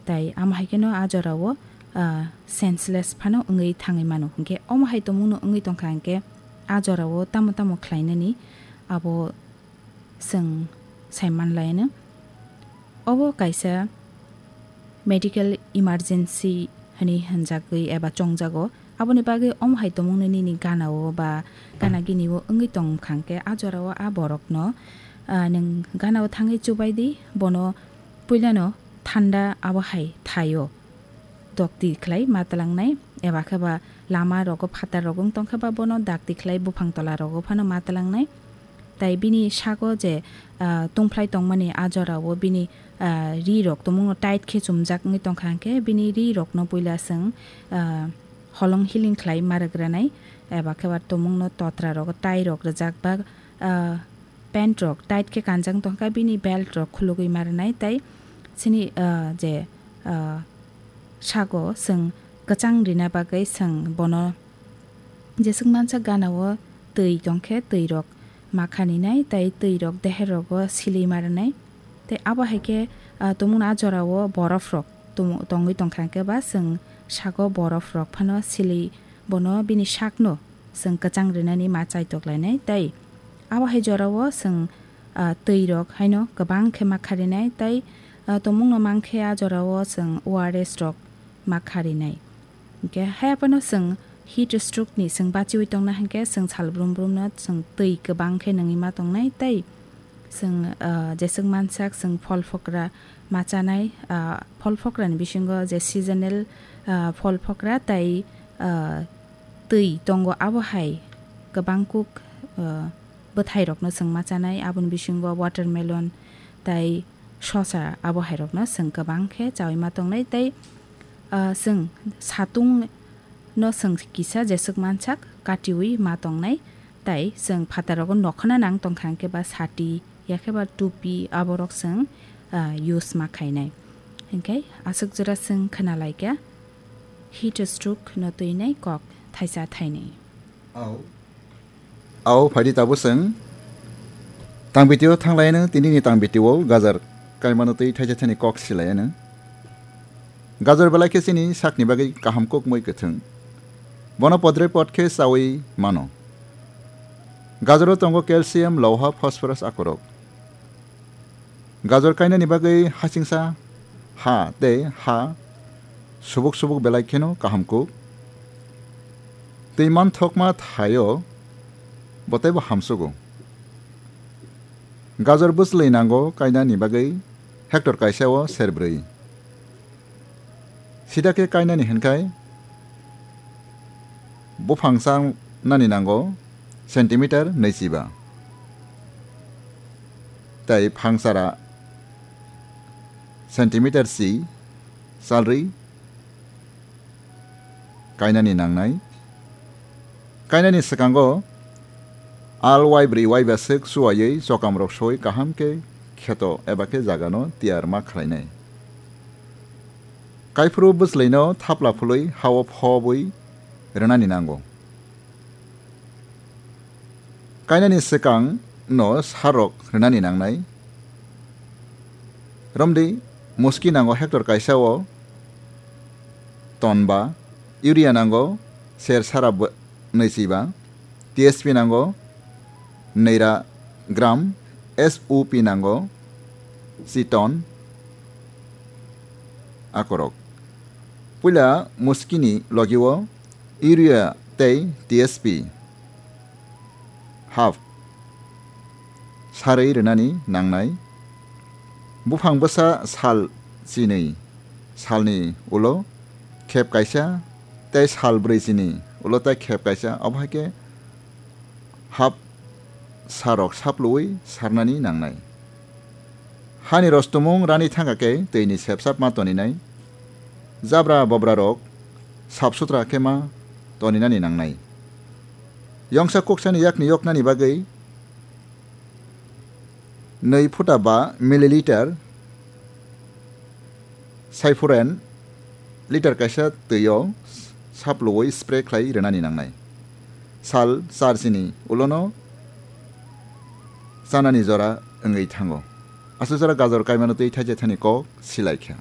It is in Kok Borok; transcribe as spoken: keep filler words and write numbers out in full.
Tai amo hai kheno a jorao, ah, senseless phano wngwi thangwi mano. Hinkhe omo hai tongmungno wngwi tongkha hinkhe a jorao tamo tamo khlainani abo chwng sai manlaino. Obo kaisa medical emergency hwnwi hwnjagwi eba chongjago. Aboni bagwi omo hai tongmungno nini ganao ba gana ginio wngwi tongkha hinkhe a jorao a borokno, ah, nwng ganao thangwi chubaidi, bono puilano thanda abo hai thaio. Dokti khlai ma tlangnai, eba khe ba lama rogo phatar rogo wng tongkha ba bono dakti khlai buphang tola rogo phano ma tlangnai. Tai bini sago je, ah, tungphlai tongmani a jorao bini, ah, ri rok tongmungno tight khe chumjak wngwi tongkha hinkhe bini ri rokno puila chwng, ah, holong healing khlai ma rwgranai, eba khe ba tongmungno totra rogo tie rok rwjak ba, ah, pant rok tight khe kanjak tongkha, bini belt rok khulugwi ma rwnai, tai chini, ah, je, ah, sago chwng kwchang rina bagwi chwng bono jeswk mansa ganao twi tongkhe twi rok ma khaninai, tai twi rok deher rogo silwi ma rwnai. Tai abo hai khe, ah, tongmungno a jorao borof rok tong-, tongwi tongkha hinkhe ba chwng sago borof rok phano silwi bono bini sakno chwng kwchang rinani ma chaitok lainai, tei abo hai jorao chwng, ah, twi rok haino kwbang khe ma kharinai, tei, ah, tongmungno mankhe a jorao chwng O R S rok ma kharinai. Hinkhe haiphano chwng heat stroke ni chwng bachiwi tongna hinkhe chwng sal brum brum no chwng twi kwbang khe nungwi ma tongnai, tei chwng, ah, jeswk mansak chwng phol phokra ma chanai, ah, phol phokra ni bisingo je seasonal, ah, phol phokra tai, ah, twi tongo, abo hai kwbang kuk, ah, bwthai rokno chwng ma chanai, aboni bisingo watermelon tai sosa, abo hai rokno chwng kwbang khe chawi ma tongnai, tei, ah, chwng satung no chwng kisa jeswk mansak katiwi ma tongnai, tai chwng phataro nokhona nang tongkha hinkhe ba sati yakhe ba tupi aborok chwng, ah, use ma khainai. Hinkhe aswk jora chwng khna laikha heat stroke no twinai kok thaisa thainwi. Au. Au, phaidi tabuk chwng tang video thanglaino, tinini tang video o gajar kaimano twi thaisa thaini kok silaino. Gajar belai khe chini sakni bagwi kaham kuk mui kwthwng. Bono podre pod khe chawi mano. Gajaro tongo calcium, loha, phosphorus akorok. Gajor kainani bagwi hasingsa ha tei ha subuk subuk belai kheno kaham kuk. Twi manthokma thaio bo teibo hamsugo. Gajor bwchlwi nango kainani bagwi hectare kaisa o serbrwi. Sida khe kainani hinkhai buphang chanani nango centimeter nwichiba. Tei phangchara centimeter si salrwi kainani nangnai. Kainani swkango al waibrwi waiba swk chuwaiwi chokamrok soi kaham khe kheto eba khe jagano tiyar ma khlainai. Kaiphuru bwchlwino thapla phului ha-o phobwi rwnani nango. Kainani swkang no sarok rwnani nangnai. Romdi muski nango hectare kaisa o ton ba, urea nango ser sara bw-, nwichi ba, T S P nango nwi ra gram, S O P nango si ton akorok. Puila muskini logi o urea tei T S P half sarwi rwnani nangnai. Buphang bwsa sal chinwi salni ulo khep kaisa tei sal brwi chini ulo tei khep kaisa, obo hai khe half sarok sapluwi sarnani nangnai. Hani rostumung rani thangkha khe twini sepsap ma toninai. Jabra bobrarok sap sutra khe ma toninani nangnai. Yongsa kuksani yakni yoknani bagwi nwi phuta ba milliliter Cyphorin liter kaisa twio sapluwi spray khlai rwnani nangnai. Sal char chini ulono chanani jora wngwi thango. Aswk jora gajor kaimano twi thaisa thani kok silai kha.